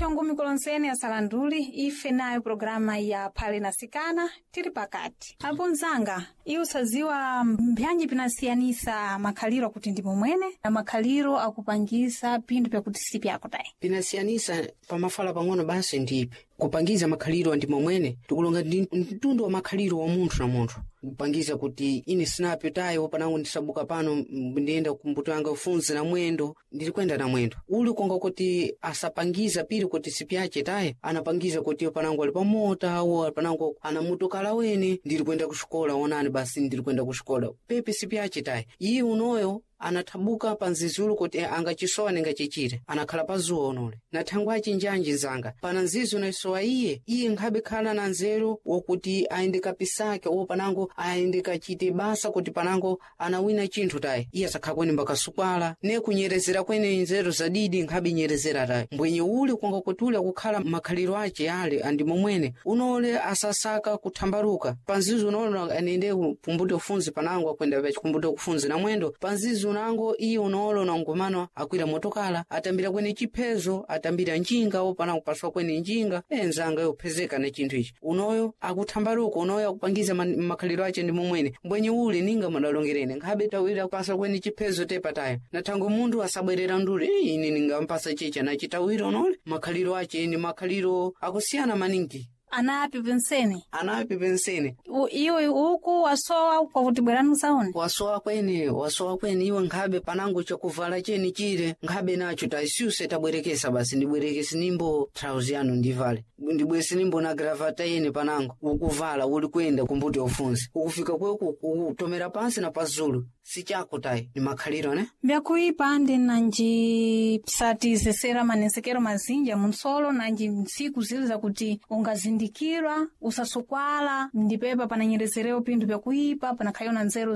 Ndiyo ngumi kulonseni asalanduli ife nayo programa ya Phale na Sikana tili pakati. Apo mzanga, iwe usaziwa mbyanji pinasiyanisa makhaliro akuti ndi momwene na makhaliro akupangisa pinthu pyakuti si pyako tayi. Pinasiyanisa pamafala pang'ono basi ndipe kupangiza makhaliro andi momwene tikulonga ndi mtundu wa makhaliro wa munthu na munthu kupangiza kuti ine sinape tayo panango ndisabuka pano ndiyenda kumbuto yanga ufunzi na mwendo ndili kwenda na mwendo uli konga kuti asapangiza pili kuti sipyache taye anapangiza kuti panango ali pamota awo panango ana motokala wene ndili kwenda kuxikola onani basi ndili kwenda kuxikola pepe sipyache taye iye unoyo anathabuka pa nzizulu kuti angacisowa ningacichite anakhala pa zuwa unole na thangwe achinjanji nzanga pana nzizi unayisowa iye iye nkhabe khala na nzeru wokuti ayende kapisake owo panango ayende kachite basa kuti panango anawina chinthu tayi iye asakhala kwene mbakasukwala ne kunyerezera kwene nzeru zadidi nkhabe nyerezera tayi mbwenye uli konga kuti uli akukhala makhaliro ace ale andi momwene unole asasaka kuthambaluka panzizi unolo anende pumbuti ufunzi panango akwenda pachikumbuti kufunzi na mwendo panzizi unango iye unolo nangumano akwira motokala atambira kwene chiphezo atambira njinga wo panango paswa kwene njinga enzanga yophezeka na chinthu ichi unoyo akuthambaluka unoyo akupangiza makhaliro ace ndi momwene mbwenye uli ninga madalongerene nkhabe tawira pasa kwene chiphezo tepatayo na thango munthu asabwerera nduli "Eh, ine ningampasa chicha nachitawira unole makhaliro ace ni makhaliro akusiyana maningi. Anapi pensene Anapi pensene. Iwe uku wasowa kwakuti bwerani usaone. Wasowa kwene, wasowa kwene iwe nkhabe panango chakuvala cheni chile nkhabe nacho taisuse tabwerekesa basi ndibwerekese nimbo trauzi yanu ndivale ndibwese nimbo na gravata yene panango ukuvala uli kwenda kumbuti ufunzi ukufika kweku ukutomera pansi na pazulu sichako tayi ni makhaliro ne. Mbyakuipa ndi nanji psatizesera manensekero mazinji munsolo nanji ntsiku zili zakuti ungazindikirwa usasukwala ndipepa pananyerezerewo pinthu pyakuipa panakhayo na nzeru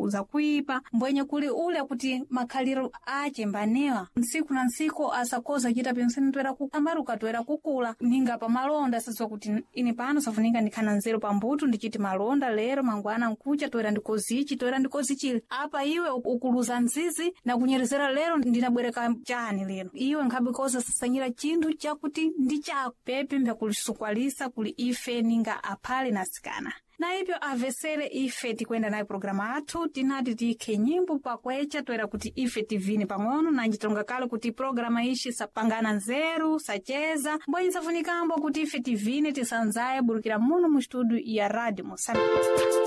za kuipa mbwenye kuli ule kuti makhaliro ache mbanewa ntsiku na ntsiku asakoza chita pensene toera kukambaruka toera kukula ninga pamalonda asadziwa kuti ine pano safunika ndikhana nzeru pambuto ndichiti malonda lero mangwana nkucha toera ndikozichi toera ndikozichile apa iwe ukuluza nzizi na kunyerezera lero ndinabwereka chani lero iwe nkhabe koza sasanyira chinthu chakuti ndi chako pepe mbyakulisukwalisa kuli ife ninga aphale na asikana na ipyo avesere ife tikwenda nayo programa athu tinati tikhe nyimbo pakwecha toera kuti ife tivine pang'ono nanji tonga kale kuti programa ishi sapangana nzeru sacheza mbwenyi safunikambo kuti ife tivine tisanzaye burukira muno mu studio ya Radio Moçambique.